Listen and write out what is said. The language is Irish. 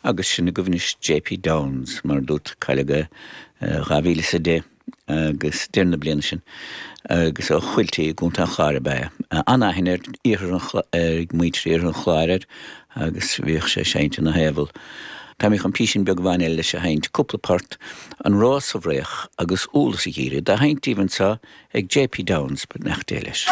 Agus sin agaibh anois JP Downs, mar a dúirt, cailleadh é 2010 agus deireadh na bliana sin agus ó Chuiltí i gContae an Chláir ab ea é. An-aithne ar iarthar an ag muintir iarthar an Chláir air agus bhíodh sé ag seinnt ina thaobhal. Tá mé chun písín beag amháin eile leis a sheinnt, cúpla port, An Rós sa bhFraoch agus Úlla sa Gheimhreadh, dá sheinnt daoibh anseo ag JP Downs, beannacht Dé leis.